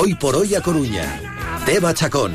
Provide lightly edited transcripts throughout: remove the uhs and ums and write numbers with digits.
Hoy por hoy a Coruña. Teba Chacón.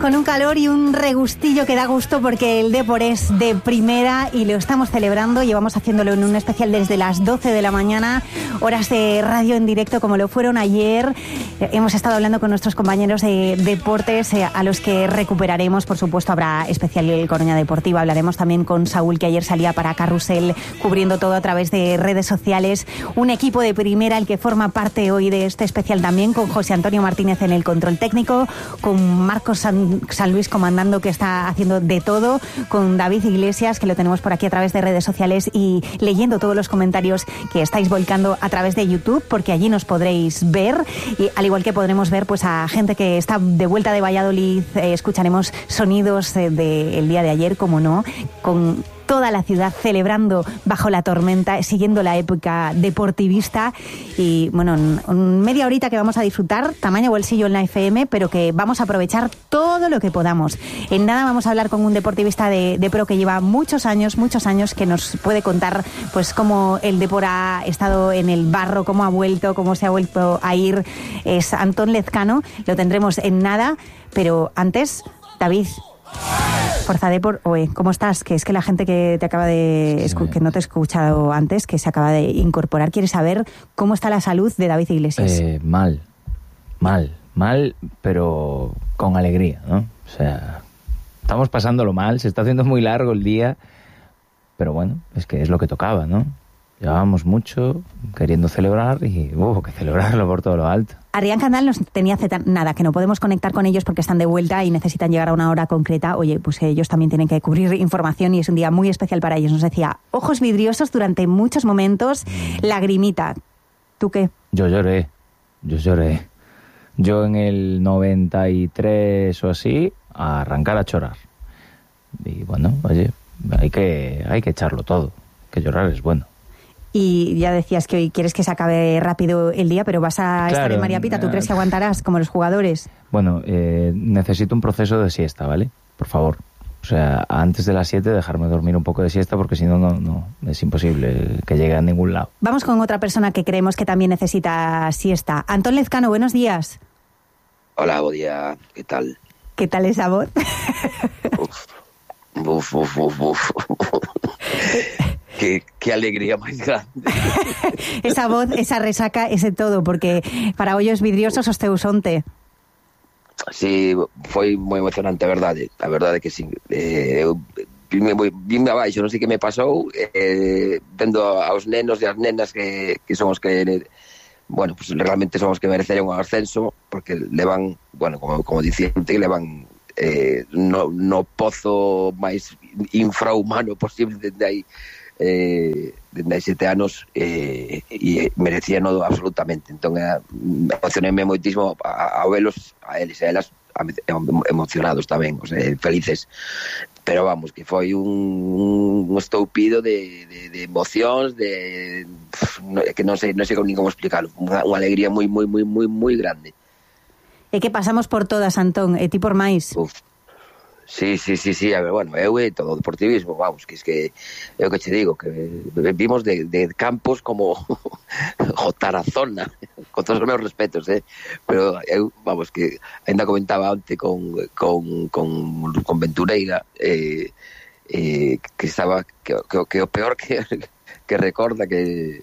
Con un calor y un regustillo que da gusto porque el Depor es de primera y lo estamos celebrando. Llevamos haciéndolo en un especial desde las 12 de la mañana, horas de radio en directo como lo fueron ayer. Hemos estado hablando con nuestros compañeros de deportes a los que recuperaremos. Por supuesto habrá especial el Coruña Deportiva. Hablaremos también con Saúl, que ayer salía para Carrusel cubriendo todo a través de redes sociales. Un equipo de primera el que forma parte hoy de este especial también, con José Antonio Martínez en el control técnico, con Marcos San Luis comandando, que está haciendo de todo, con David Iglesias, que lo tenemos por aquí a través de redes sociales, y leyendo todos los comentarios que estáis volcando a través de YouTube, porque allí nos podréis ver, y al igual que podremos ver pues a gente que está de vuelta de Valladolid. Escucharemos sonidos del día de ayer, como no, con toda la ciudad celebrando bajo la tormenta, siguiendo la época deportivista. Y bueno, media horita que vamos a disfrutar, tamaño bolsillo en la FM, pero que vamos a aprovechar todo lo que podamos. En nada vamos a hablar con un deportivista de pro que lleva muchos años, que nos puede contar pues cómo el Depor ha estado en el barro, cómo ha vuelto, cómo se ha vuelto a ir. Es Antón Lezcano, lo tendremos en nada, pero antes, David, Forza Depor, oye, ¿cómo estás? Que es que la gente que te acaba de que no te ha escuchado antes, que se acaba de incorporar, quiere saber cómo está la salud de David Iglesias. Mal, pero con alegría, ¿no? O sea, estamos pasándolo mal, se está haciendo muy largo el día, pero bueno, es que es lo que tocaba, ¿no? Llevábamos mucho queriendo celebrar y hubo que celebrarlo por todo lo alto. Adrián Candal nos tenía nada, que no podemos conectar con ellos porque están de vuelta y necesitan llegar a una hora concreta. Oye, pues ellos también tienen que cubrir información y es un día muy especial para ellos. Nos decía, ojos vidriosos durante muchos momentos, lagrimita. ¿Tú qué? Yo lloré. Yo en el 93 o así, a arrancar a chorar. Y bueno, oye, hay que echarlo todo, que llorar es bueno. Y ya decías que hoy quieres que se acabe rápido el día, pero vas a estar en María Pita. ¿Tú crees que aguantarás como los jugadores? Bueno, necesito un proceso de siesta, ¿vale? Por favor. O sea, antes de las 7 dejarme dormir un poco de siesta, porque si no, no es imposible que llegue a ningún lado. Vamos con otra persona que creemos que también necesita siesta. Antón Lezcano, buenos días. Hola, buen día. ¿Qué tal? ¿Qué tal esa voz? Uf. Qué alegría más grande. Esa voz, esa resaca, ese todo, porque para ollos vidriosos os teusonte. Sí, foi moi emocionante, a verdade que sí. Vime abaixo, non sei que me pasou, vendo aos nenos e as nenas que son os que, bueno, pues realmente son os que mereceron o ascenso, porque levan, bueno, como dicente, levan no pozo máis infrahumano posible desde aí 7 anos, e merecían absolutamente. Entón emocionéme moitísimo a velos, a eles e a elas emocionados tamén, o sea, felices, pero vamos, que foi un estoupido de emocións, que non sei nin como explicarlo, unha alegría moi grande. E que pasamos por todas, Antón, e ti por máis. Sí, a ver, bueno, eu e todo o deportivismo, vamos, que es que é o que che digo, que vimos de campos como o Tarazona, con todos os meus respetos, pero eu, vamos, que ainda comentaba antes con Ventureira, que estaba que o peor que recorda que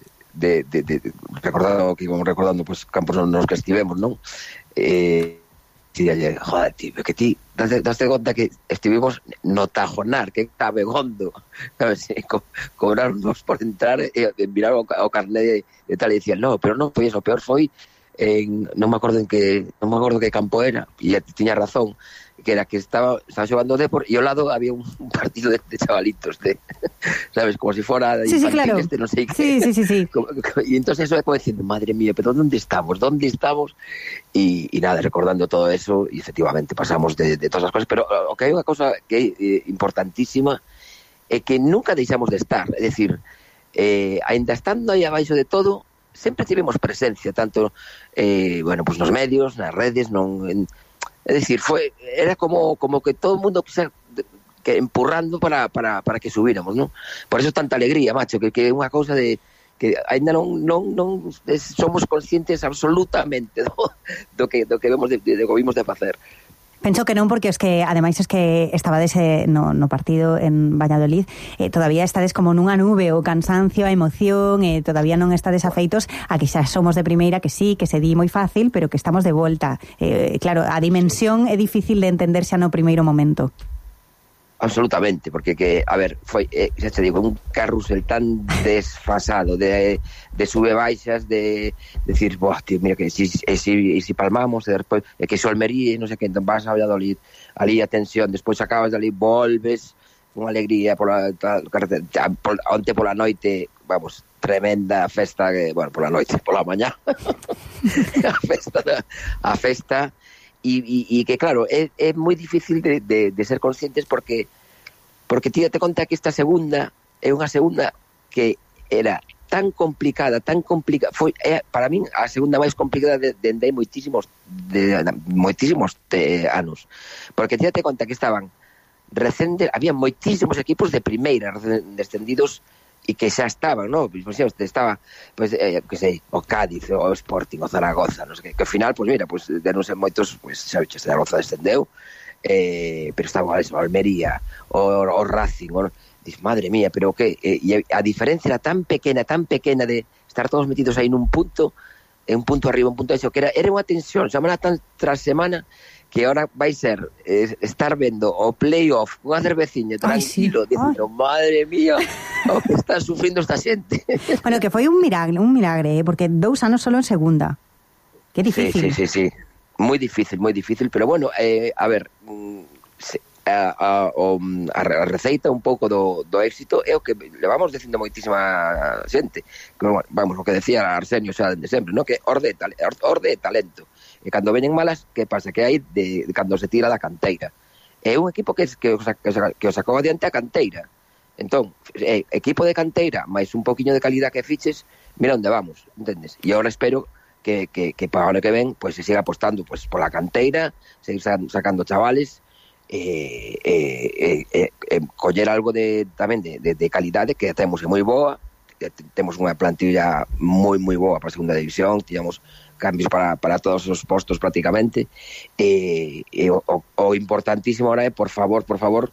recordando que íbamos recordando pues campos nos que estivemos, non? Joder, tío, que ti daste conta que estivemos no Tajonar, que está Begondo, sabes, cobrarnos por entrar e mirar o carnet de tal, e dicían, no, pero non foi eso, o peor foi non me acordo que campo era, e tiña razón, que era que estaba xogando o Depor e ao lado había un partido de chavalitos, sabes, como si fuera sí, claro. No sei que. Sí. Y entonces eso después diciendo, madre mía, pero ¿dónde estamos? Y nada, recordando todo eso, y efectivamente pasamos de todas as cosas, pero o que hai unha cosa que é importantísima é que nunca deixamos de estar, é dicir, ainda estando aí abaixo de todo, sempre tivemos presencia, tanto bueno, pues nos medios, nas redes, é dicir, era como que todo o mundo que empurrando para que subíramos, ¿no? Por eso tanta alegría, macho, que é unha cousa de que ainda non somos conscientes absolutamente do que vimos de facer. Penso que non, porque es que ademais es que estabades no partido en Valladolid, todavía estades como nunha nube, o cansancio, a emoción, todavía non estades afeitos a que xa somos de primeira, que sí, que se di moi fácil, pero que estamos de volta. Claro, a dimensión é difícil de entender xa no primeiro momento. Absolutamente, porque a ver, foi, xa te digo, un carrusel tan desfasado de sube baixas, de decir, boh, tío, mira que si palmamos, e despois que iso Almería, non sei que, entón vas a Valladolid, ali a tensión, despois acabas de ali, volves, unha alegría onte pola noite, vamos, tremenda festa, pola noite, pola mañá, a festa, e que claro, é moi difícil de ser conscientes porque ti te conta que esta segunda é unha segunda que era tan complicada, foi para min a segunda máis complicada de moitísimos anos, porque ti te conta que estaban había moitísimos equipos de primeira descendidos e que xa estaban, ¿no? Pues estaba, pues, que sei, o Cádiz, o Sporting, o Zaragoza, non sei que ao final, pues mira, pues denos en moitos, pues xa veches, Zaragoza descendeu, pero estaba o Almería, o Racing, dis, madre mía, pero que, e a diferencia era tan pequena de estar todos metidos aí nun punto, un punto arriba, un punto eso, que era unha tensión, semana tras semana, que ahora vai ser estar vendo o playoff unha cerveciña tranquilo, dicindo, madre mía, o que está sufrindo esta xente. Bueno, que foi un milagre, porque 2 anos solo en segunda. Que difícil. Sí. Moi difícil, pero bueno, a ver, a receita un pouco do éxito é o que levamos dicindo moitísima xente. Vamos, o que decía Arsenio xa de sempre, ¿no? Que orde e talento. E cando veñen malas, que pasa? Que hai cando se tira da canteira. É un equipo que os sacou adiante a canteira. Entón, equipo de canteira, máis un poquinho de calidad que fiches, mira onde vamos, entendes? E agora espero que para o ano que ven, pues se siga apostando pues pola canteira, seguir sacando chavales, coller algo tamén de calidade que temos moi boa, temos unha plantilla moi boa para a segunda división, tiñamos cambios para todos os postos prácticamente, o importantísimo ahora é, por favor,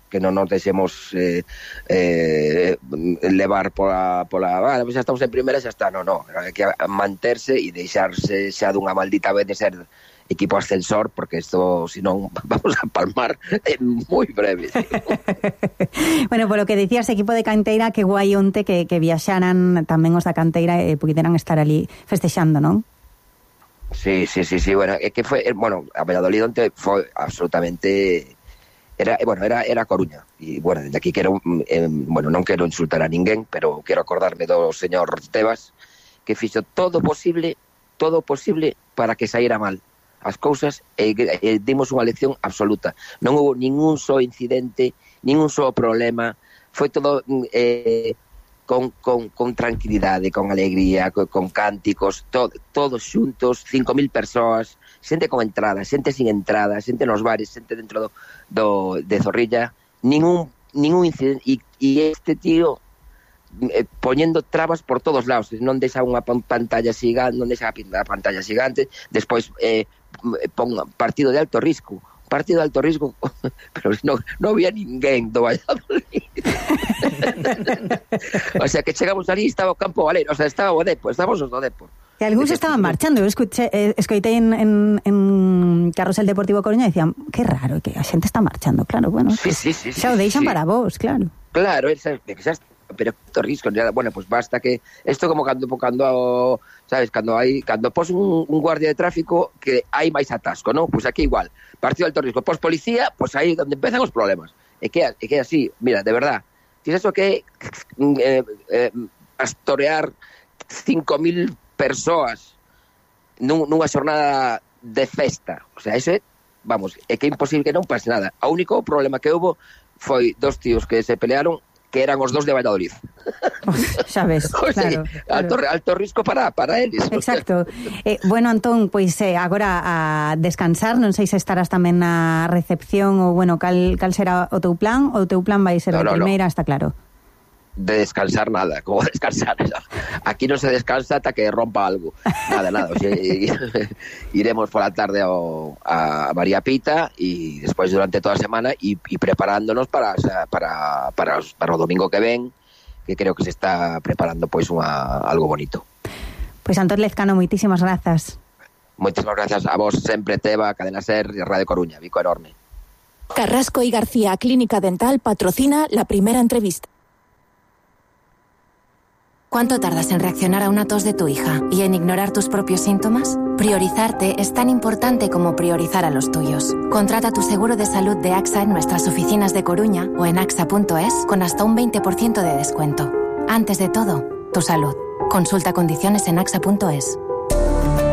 que non nos deixemos levar pola pues xa estamos en primeira, xa está, no, hai que manterse e deixarse xa dunha maldita vez de ser equipo ascensor, porque isto, senón, vamos a palmar en moi breve. Bueno, polo que dicías, equipo de canteira, que guai onte que viaxaran tamén os da canteira e puderan estar ali festexando, non? Sí, bueno, é que foi, bueno, a Valladolid onte foi absolutamente era Coruña, e bueno, desde aquí quero non quero insultar a ninguén, pero quero acordarme do señor Tebas, que fixo todo posible para que saíra mal as cousas, e dimos unha lección absoluta. Non houve ningún só incidente, ningún só problema, foi todo con tranquilidade, con alegría, con cánticos, todos xuntos, 5.000 persoas, xente con entrada, xente sin entrada, xente nos bares, xente dentro de Zorrilla, ningún incidente, e este tío poñendo trabas por todos lados, non deixa unha pantalla xigante, non deixa a pantalla xigante, despois pon partido de alto risco, pero non había ninguén do Valladolid. O sea, que chegamos ali, estaba o campo Valero, o sea, estaba o Depor, estábamos os do Depor. E algúns estaban marchando, eu escoitei en Carrusel Deportivo Coruña e decían, que raro, que a xente está marchando, claro, bueno, sí, xa o deixan para vos, claro. Claro, xa está, pero alto risco, bueno, pues basta que esto como cando sabes, cando pos un guardia de tráfico que hai máis atasco, ¿no? Pues aquí igual, partido de alto risco, pos policía, pues aí donde empezan os problemas. É que así, mira, de verdad, ti eso que pastorear 5.000 persoas nunha xornada de festa, o sea, eso é, vamos, é que é imposible que non pase nada. O único problema que houve foi 2 tíos que se pelearon, que eran os 2 de Valladolid. Xa ves, claro. Alto risco para eles. Exacto. Bueno, Antón, pois agora a descansar, non sei se estarás tamén na recepción ou, bueno, cal será o teu plan? O teu plan vai ser de primeira, está claro? de descansar nada, como descansar. Aquí no se descansa hasta que rompa algo. Nada. O sea, iremos por la tarde a María Pita y después durante toda la semana y preparándonos para o domingo que ven, que creo que se está preparando pues algo bonito. Pues Antón Lezcano, muchísimas gracias. Muchísimas gracias a vos sempre, Teba, Cadena Ser y Radio Coruña. Vico enorme. Carrasco y García Clínica Dental patrocina la primera entrevista. ¿Cuánto tardas en reaccionar a una tos de tu hija y en ignorar tus propios síntomas? Priorizarte es tan importante como priorizar a los tuyos. Contrata tu seguro de salud de AXA en nuestras oficinas de Coruña o en axa.es con hasta un 20% de descuento. Antes de todo, tu salud. Consulta condiciones en axa.es.